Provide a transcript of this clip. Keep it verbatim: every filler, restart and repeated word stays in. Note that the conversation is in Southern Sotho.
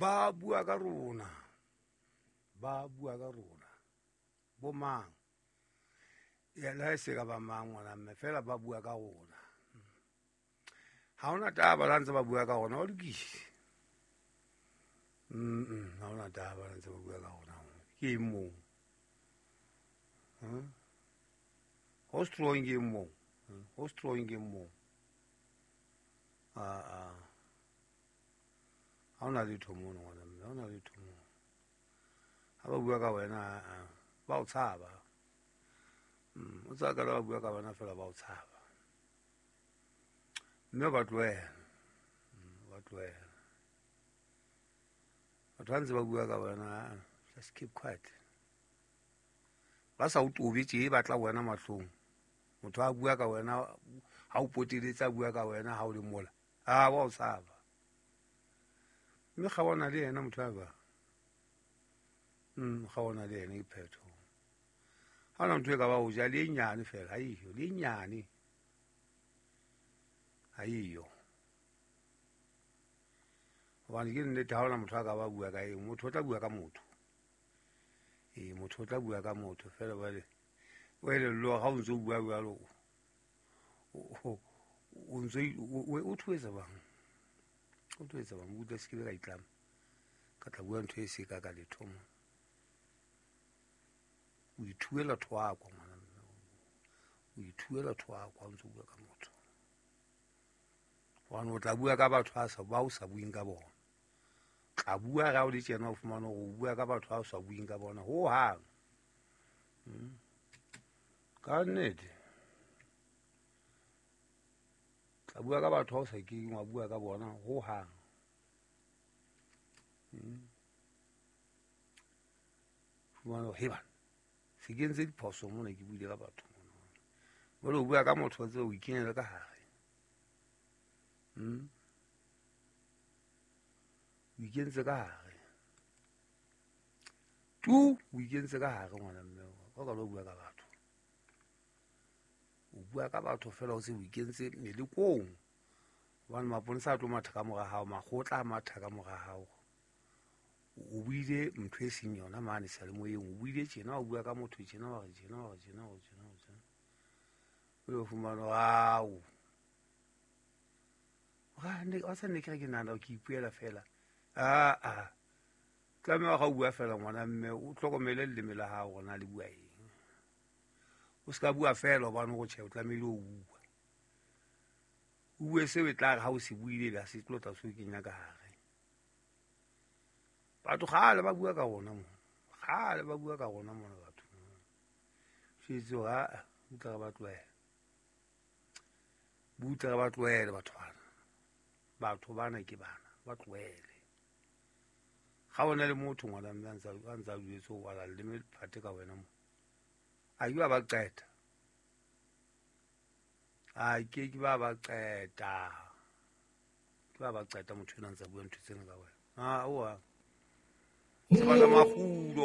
Ba bua ka rona, ba bua ka rona. Bo mang? Ya le ha e se ka ba mang ngwana mme, fela ba bua ka rona. Ha hona taba la ntse ba bua ka rona, ba lokise. Mm, ha hona taba la ntse ba bua ka rona. Ke eng moo? Hmm? Ho strong ke eng moo? Ho strong ke eng moo? Ah ah. Ha hona letho mono ngwana mme, ha hona letho moo. Ha ba bua ka wena, ah, ba o tshaba. Mm, o tsaya ka ba bua ka wena fela ba o tshaba. Mme ba tlohela. Mm, ba tlohela. Batho ba ntse ba bua ka wena, just keep quiet. Ba sa o tobe tje ba tla wena mahlong. Motho a bua ka wena, ha o poteletse a bua ka wena ha o le mola. Ah, wa o tshaba. Mme kgaona le yena motho a ba. Mm, kgaona le yena ke phetho. Ha hona ntho e ka ba o ja le e nyane fela, ha eyo, le e nyane. Ha eyo. Hobane ke nnete ha hona motho a ka ba bua ka eng, motho o tla bua ka motho. Ee, motho o tla bua ka motho fela jwale o elellwe ha o ntso bua jwalo, o ntso o thuetsa bang. O thuetsa bang, o utlwa se ke be ka itlama. Ka tla bua ntho e se ka ka letho mo. O ithuela thoako ngwana mme. O ithuela thoako ha o ntso bua ka motho. Hobane o tla bua ka batho ba sa ba o sa bueng ka bona. Tla bua ra o le tjena o fumane hore o bua ka batho ba o sa bueng ka bona ho hang. Hmm. Ka nnete. Tla bua ka batho ba o sa keng wa bua ka bona ho hang. Hmm. Fumane hore he bana, se ke entse diphoso mona ke buile ka batho mona. Jwale o bua ka motho wa tseba o ikenyela ka hare. Hmm. O ikentse ka hare. Tu o ikentse ka hare ngwana mme, o ka lo bua ka batho. O bua ka batho fela o se o ikentse melekong. Hobane maponesa a tlo matha ka mora hao, makgotla a matha ka mora hao. O buile ntho e seng yona mane seyalemoyeng, o buile tjena, o bua ka motho tjena, wa re tjena, wa re tjena, wa re tjena, wa re tjena. O yo fumana ao. Ra ne wa sa ne ke re ke nahana ke ipuela fela. Ah ah. Tlameha ga o bua fela ngwana mme o hlokomele leleme la hao hore na le bua eng. O ska bua fela hobane o tjhe o tlamehile o bua. O bue seo e tla re ha o se buile la se tlo tla se o kenya ka hare. Batho kgale ba bua ka rona mo. Kgale ba bua ka rona mona batho. Shetse hore a butla re ba tlohele. Butla re ba tlohele batho bana. Batho bana ke bana, ba tlohele. Ga ona le motho ngwana mme a ntsa a ntsa jwetse o wala leleme phate ka wena mo. A ke ba ba qeta. A ke ke ba ba qeta. Ke ba ba qeta motho ena ntsa bua ntho tsena ka wena. Ah, oa. Se batla makgulo.